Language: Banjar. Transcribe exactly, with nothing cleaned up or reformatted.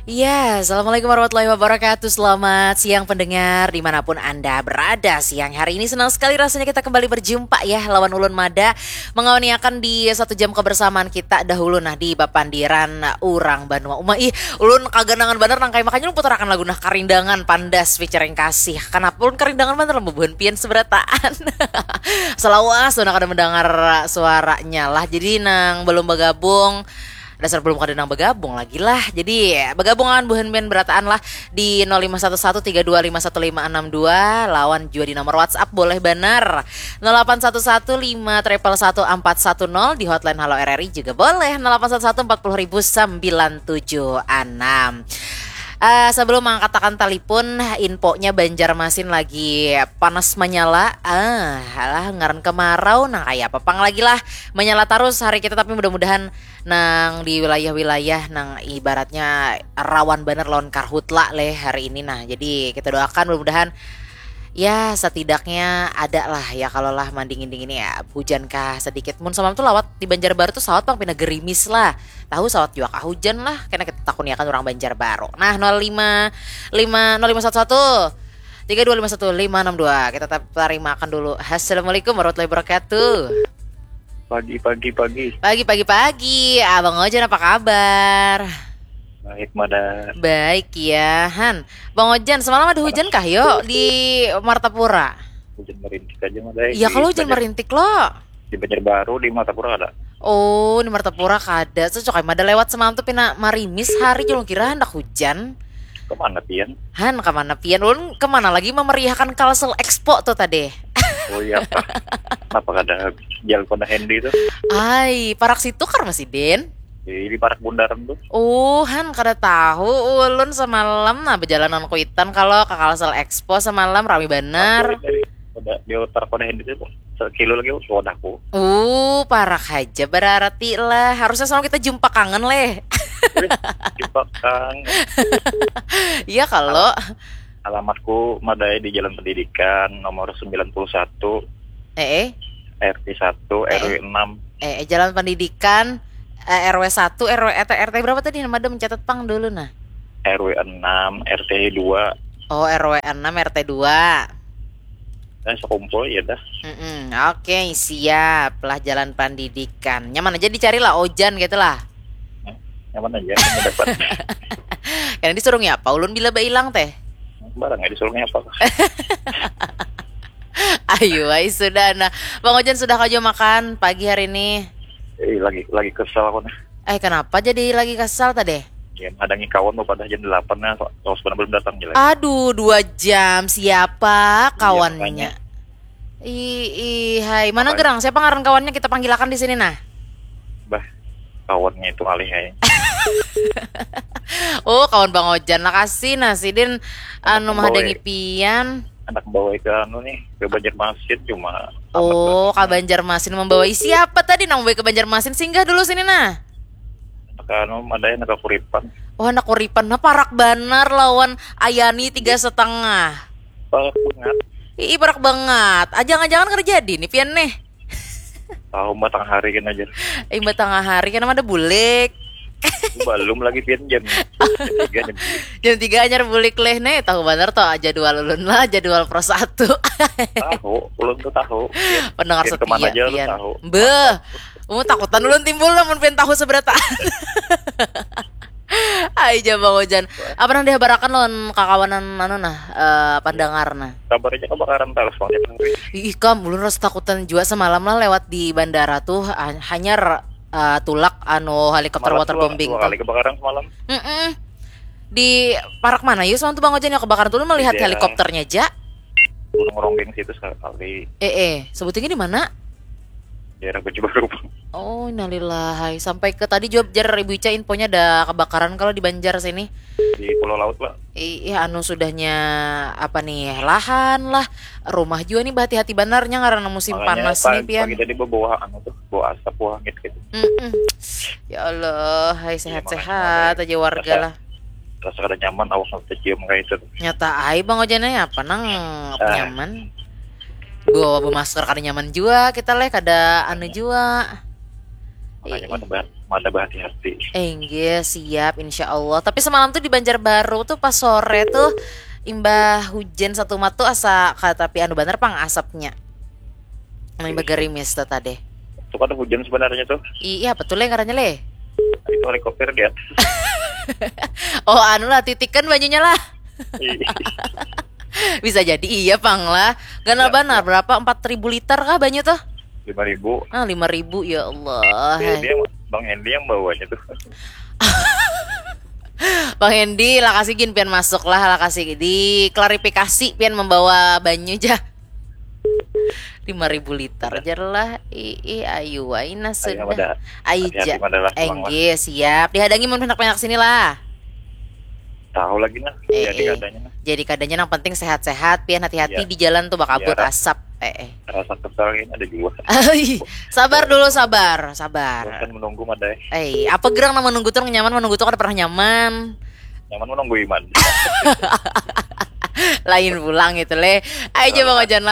Ya, Assalamualaikum warahmatullahi wabarakatuh. Selamat siang pendengar dimanapun Anda berada. Siang hari ini senang sekali rasanya kita kembali berjumpa ya lawan ulun mada mengawaniakan di satu jam kebersamaan kita dahulu nah di bapandiran urang banua uma. Ih, ulun kaganangan banar nang kayak makanya ulun putarakan lagu nah Karindangan Pandas featuring Kasih. Kenapa ulun karindangan banar bubuhan pian seberataan. Selawas sudah kada mendengar suaranya lah. Jadi nang belum bergabung dasar belum kada nang bergabung lagi lah. Jadi bergabungan buhan band berataan lah di nol lima satu satu tiga dua lima satu lima enam dua lawan juga di nomor WhatsApp boleh benar nol delapan satu satu lima triple satu empat satu nol di hotline Halo R R I juga boleh nol delapan satu satu empat puluh ribu sembilan tujuh enam. Uh, sebelum mengatakan telepon, infonya Banjarmasin lagi panas menyala. Ah, uh, alah ngaran kemarau, nah kayak apa pang lagi lah menyala terus hari kita. Tapi mudah-mudahan nang di wilayah-wilayah nang ibaratnya rawan bener lawan karhutla leh hari ini. Nah, jadi kita doakan mudah-mudahan ya setidaknya ada lah ya kalau lah mandingin dingin ya hujan kah sedikit. Mun semalam tuh lawat di Banjarbaru tuh sawat pang pina gerimis lah, tahu sawat juga kah hujan lah karena kita takuniakan orang Banjarbaru. Nah, nol lima lima nol lima satu satu tiga dua lima satu lima enam dua kita tarimakan dulu. Assalamualaikum warahmatullahi wabarakatuh. Pagi pagi pagi. Pagi pagi pagi. Abang Ojan apa kabar? Baik mada. Baik ya, Han. Bang Ojan, semalam ada hujan kah yo di Martapura? Hujan merintik aja mada. Ya kalau hujan merintik lo. Di Banjarbaru di Martapura ada. Oh, di Martapura kada. Cocok mada lewat semalam tuh pina marimis hari, julung kira hendak hujan. Kemana pian? Han, kemana pian? Ulun kemana lagi memeriahkan Kalsel Expo tuh tadi. Oh iya apa? Kenapa kada jalan kona Hendy tuh? Ai, parak situ kar masih Den. Di parak bundaran tuh. Oh, Han kada tahu. Ulun semalam nah berjalanan kuitan kalau ke Kalsel Expo semalam rame benar. Udah di parak kona Hendy tuh sekilo lagi wadahku. Uh, parak aja berarti lah. Harusnya sama kita jumpa kangen leh. Jumpa kangen. Iya kalau alamatku madai di Jalan Pendidikan nomor sembilan puluh satu. Eh, eh. R T satu, eh. R W enam. Eh, eh, Jalan Pendidikan eh, R W satu, R W atau R T berapa tadi nama ada mencatat pang dulu nah. R W enam, R T dua. Oh, R W enam, R T dua. Nah, sekumpul ya dah. Mm-mm. Oke, siap lah Jalan Pendidikan. Nyaman aja dicari lah Ojan gitu lah. Nyaman aja kamu dapat. Karena disuruh apa? Ulun bila bailang teh. Barang ya disuruhnya apa? Ayo, ay, sudah nah. Bang Ojan sudah kau makan pagi hari ini? Eh, lagi lagi kesel aku nih. Eh, kenapa jadi lagi kesel tadi? Ya, hadangi kawan mau pada jam delapan nah, terus belum datang jelas. Aduh, dua jam siapa kawannya? Ih, ih, hai, mana gerang? Siapa ngaran kawannya kita panggilakan di sini nah? Bah, kawannya itu alih hai. Oh, kawan Bang Ojan lah kasih nah sidin anu mah hadangi pian. Anak bawa ke anu nih, ke Banjarmasin cuma. Oh, ke Banjarmasin membawa siapa tadi nang bawa ke Banjarmasin? Singgah dulu sini nah. Anak anu ada anak kuripan. Oh, anak kuripan nah parak banar lawan Ayani tiga setengah. Parak banget. Ih, parak banget. Jangan-jangan kerja di nih pian nih. Tahu matang hari kan aja. Imbah tengah hari kan ada bulik. Belum lagi pian jam tiga nih. Jam tiga anyar bulik leh nih, tahu benar toh jadwal ulun lah, jadwal pro satu. Tahu, ulun tuh tahu. Pendengar setia pian. Beuh, mau takutan ulun timbul namun pian tahu seberataan. Ai jam Bang Ojan. Apa nang dihabarakan lawan kakawanan anu nah, uh, pandangar nah. Kabarnya kebakaran terus Bang. Ih, kam ulun rasa takutan juga semalam lah lewat di bandara tuh hanyar uh, tulak anu helikopter waterbombing tuh. Kali kebakaran semalam. Mm -mm. Di parak mana yuk semalam tuh Bang Ojan yang kebakaran tuh melihat helikopternya aja. Gunung Ronggeng situ sekali. Eh eh, sebutnya di mana? Daerah Banjarbaru. Oh, innalillahi. Sampai ke tadi jawab jar Ibu Ica infonya ada kebakaran kalau di Banjar sini. Di Pulau Laut lah. Iya, anu sudahnya apa nih lahan lah, rumah juga nih berhati-hati banarnya karena musim panas nih pian. Pagi tadi bawa anu tuh, bawa asap, bawa angin gitu. Mm -mm. Ya Allah, hai sehat-sehat aja warga lah. Rasa kada nyaman awak tercium kayak itu. Nyata ai Bang Ojan apa nang nyaman. Bawa masker kada nyaman juga kita leh kada anu juga. Makanya mada bah- mada bahati-hati. Enggih, siap, insya Allah. Tapi semalam tuh di Banjarbaru tuh pas sore tuh imbah hujan satumat tuh asa katapi anu banar pang asapnya. Nang imbah gerimis tuh tadi. Itu kan hujan sebenarnya tuh. Iya, betul le ngarannya le. Itu helikopter di atas. Oh, anu lah, titikan banyunya lah. Iya. Bisa jadi iya pang lah. Ganal banar, berapa? Empat ribu liter kah banyu tuh? Lima ribu. Ah, lima ribu, ya Allah. Bang Hendy yang, Bang Hendy yang bawanya tuh. Bang Hendy, lakasi gin pian masuk lah, lakasi diklarifikasi pian membawa banyu ja. Lima ribu liter jar lah. Ih, ayu aina sudah. Ayu ja. Enggih, siap. Dihadangi mun handak pindah ke sini lah. Tahu lagi nah. Eh, jadi eh. Kadanya nah. Jadi kadanya nang penting sehat-sehat, pian hati-hati di jalan tuh bakabut asap. Eh, eh. Rasa kesal ini ada juga. Sabar dulu, sabar, sabar. Bosan menunggu mada. Eh, apa gerang nang menunggu tuh nyaman, menunggu tuh kada pernah nyaman. Nyaman menunggu iman. Lain pulang itu le. Ayo coba wajan lah.